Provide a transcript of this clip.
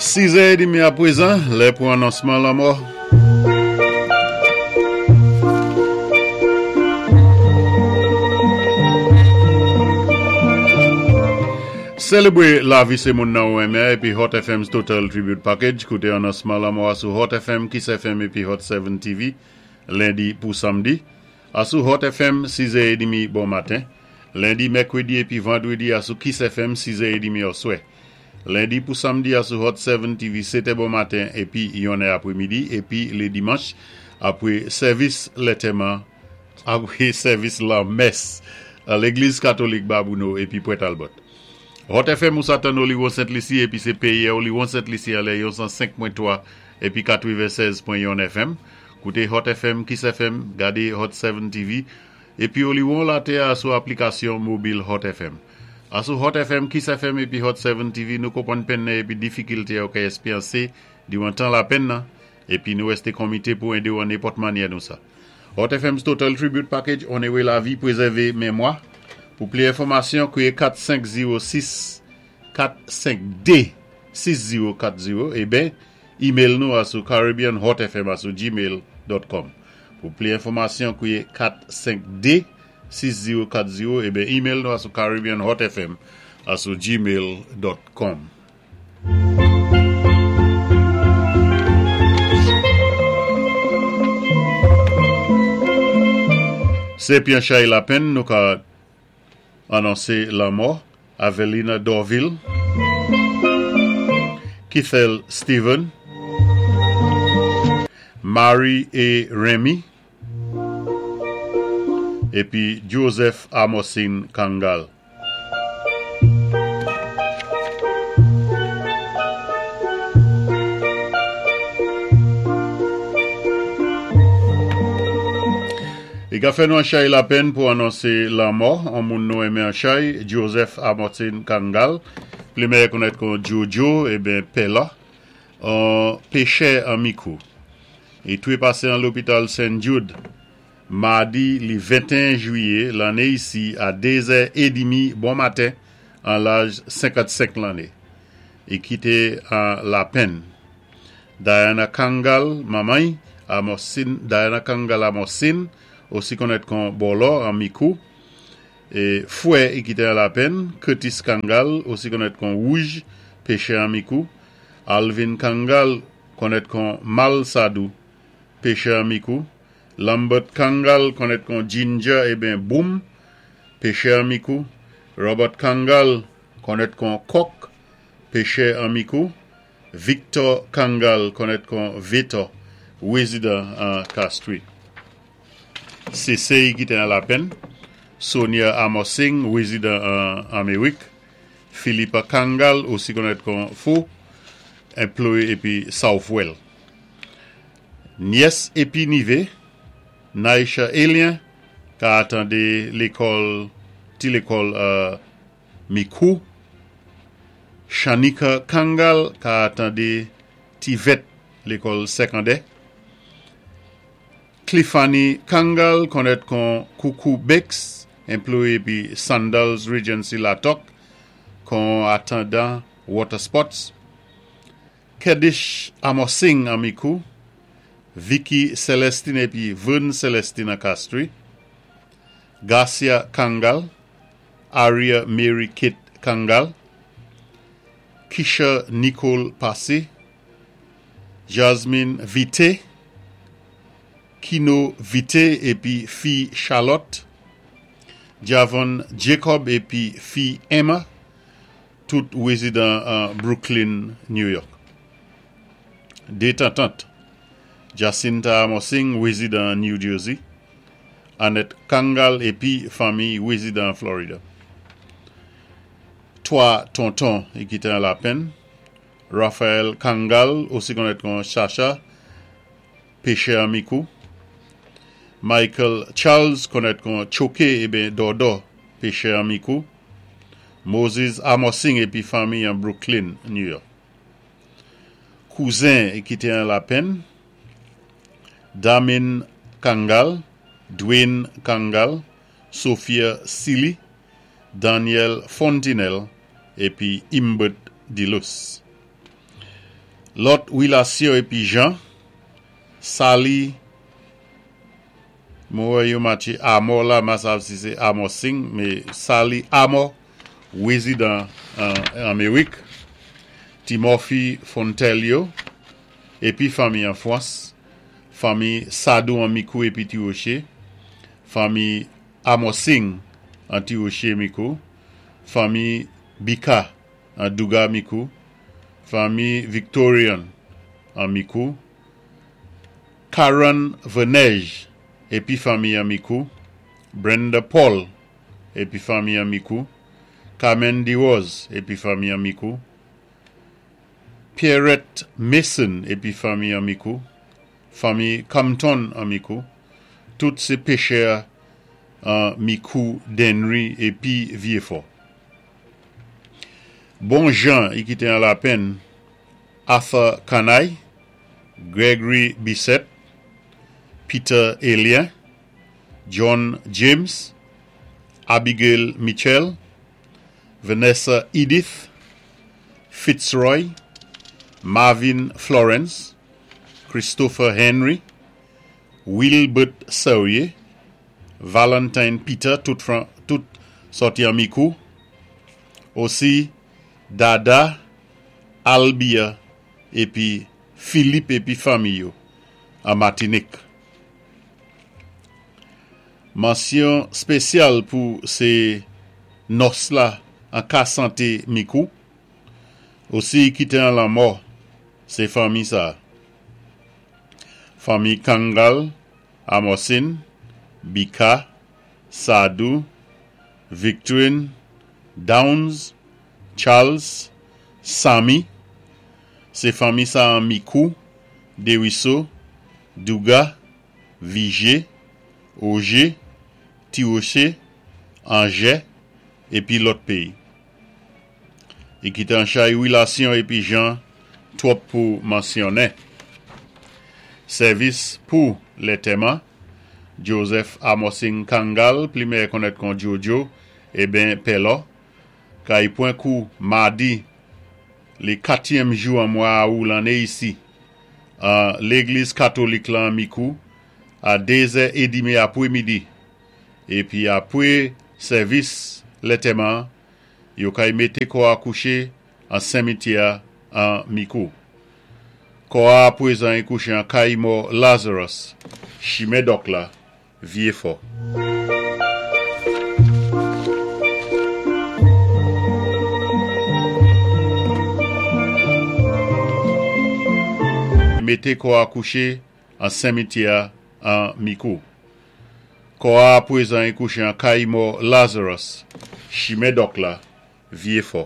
Sizè edmi apwézan, lè pou anonsman lanmò. Sélébwé lavi sé moun nan ou renmen épi Hot FM's Total Tribute Package. Kouté anonsman lanmò a sou Hot FM, Kiss FM épi Hot 7 TV lendi pou samdi. A sou Hot FM, sizè edmi bon maten. Lendi, mèkredi épi vandredi a sou Kiss FM, sizè edmi òswè. Lendi pou samdi a sou Hot 7 TV, setè bon maten épi yonnè apremidi épi lé dimanch apwé sèvis lètèman apwé sèvis lanmès an légliz katolik Babouno épi Pwent Albòt. Hot FM ou sa tann Oliwon Sent Lisi épi sé péyè Oliwon Sent Lisi anlè yon 105.3 épi 96.1 FM. Koute Hot FM, Kiss FM, gade Hot 7 TV, epi oliwon latè a sou aplikasyon mobil Hot FM. A sou Hot FM, Kiss FM epi Hot 7 TV nou konpwann penn nan epi difikilte a ou ka espyanse diwan tan lapenn nan, epi nou rèste konmite pou ede ou an nenpòt mannyè nou sa. Hot FM's Total Tribute Package Onere Lavi Prezève Memwa Pou pli enfòmasyon kriye 4 5 0 6 4 5 2 6 0 4 0 eben Email nou a sou caribbeanhotfm a sou gmail dot com. Pou pli enfòmasyon kwiye 4 5 2 6 0 4 0 eben email nou a sou caribbeanhotfm a sou gmail dot com. Se Pyanchay Lapenn nou ka anonse lanmò Avelina Dorvil, Keithel Steven, Mary A. Remy, epi Joseph Amosin Kangal. Li ka fè nou anchay lapenn pou anonse lanmò on moun nou renmen anchay, Joseph Amortin Kangal, pli mèyè konèt kon Jojo eben Pela, on pechè an Mikou. Li trepase an lopital Sen Jude madi li 21 jwiyé lanné isi a 2 zè edimi bon maten an laj 55 lanné. Li kite an lapenn. Diana Kangal, manman y, Amorcine, Diana Kangal Amorcine, osi konnèt kon Bòlò an Mikou, e fwè y kite an lapenn, Curtis Kangal, osi konnèt kon Wouj, pechè an Mikou, Alvin Kangal, konnèt kon Mal Sadou, pechè an Mikou, Lambert Kangal, konnèt kon Ginger eben Boom, pechè an Mikou, Robert Kangal, konnèt kon Kòk, pechè an Mikou, Victor Kangal konnèt kon Vetò, rezidan an Castries. Se sey ki te an lapenn, Sonia Amorsing, rezidan an Amerik, Philippa Kangal, osi konnèt kon Fo, enploye epi Southwell. Nyès epi nive, Naisha Elien, ka atande lekòl ti lekòl Mikou, Shanika Kangal ka tande ti vèt lekòl sèkandè, Cliffany Kangal konnèt kon Koukou Bakes, enploye epi Sandals Regency Latòk kon atandan Water Sports, Kedish Amorsing an Mikou, Vicky Celestine epi Vern Celestine an Castries, Garcia Kangal, Aria Mary Kate Kangal, Kisha Nicole Passy, Jasmine Vite, Kino Vite epi fi Charlotte, Javon Jacob epi fi Emma, tout rezidan an Brooklyn, New York. 2 tantant, Jacinta Amorsing, rezidan New Jersey, Annette Kangal epi fanmiy rezidan Florida. 3 tonton ki te an lapenn, Raphael Kangal, osi konnèt kon Chacha, pechè an Mikou, Michael Charles, konnèt kon Tchoke eben Dòdò, pechè an Mikou, Moses Amorsing epi fanmiy an Brooklyn, New York. Kouzen ki te an lapenn, Damin Kangal, Dwayne Kangal, Sophia Sealy, Daniel Fontinelle epi Imbert Delus. Lòt wilasyon épi Jean, Sally, mwen wè yo matché Amor la, ma sav si sé Amor Singh, mé Sally Amor, wézidan an Anmérik, Timothy Fontelio, épi fanmi an Fwans, fanmi Sadou an Mikou épi Tiwoché, fanmi Amor Singh an Tiwoché Mikou, fanmi Bika an Douga Mikou, fanmi Victorian an Mikou, Karen Venège épi fanmi an Mikou, Brenda Paul épi fanmi an Mikou, Carmen DeRose épi fanmi an Mikou, Pierrette Mason épi fanmi an Mikou, fanmi Compton an Mikou, tout sé péchè an Mikou, Dennery épi Vyéfò. Bon jan i kité an lapenn Arthur Kanay, Gregory Bissett, Peter Elien, John James, Abigail Mitchell, Vanessa Edith, Fitzroy, Marvin Florence, Christopher Henry, Wilbert Serrier, Valentine Peter, tout, tout sòti an Mikou. Osi Dada, Albia épi Philippe épi fanmi yo an Matinik. Mansyon spésyal pou sé nòs la an ka santé Mikou. Osi ki té an lanmò sé fanmi sa. Fanmi Kangal, Amòsin, Bika, Sadou, Victorine, Downs, Charles, Samy, sé fanmi sa an Mikou, Deriso, Douga, Vigé, Ogé, Tiwoché, Anjè, épi lòt péyi. I kité an chay wilasyon épi jan twòp pou mansyonnen. Sèvis pou lètèman, Joseph Amosing Kangal, pli mèyè konnèt kon Jojo, eben Pèlò, kay pwan kou madi lé katyèm jou an mwa Awou lanné isi, an légliz katolik lan an Mikou, a dézè édimi apwé midi. Épi apwé sèvis lètèman, yo kay mété kò a kouché an senmityè an Mikou. Kò a apwézan i kouché an kay mò Lazarus, chimen Dòk la, Vyéfò. Mété kò a kouché an senmityè an Mikou. Kò a apwézan i kouché an kay mò Lazarus, chimen Dòk la, Vyéfò.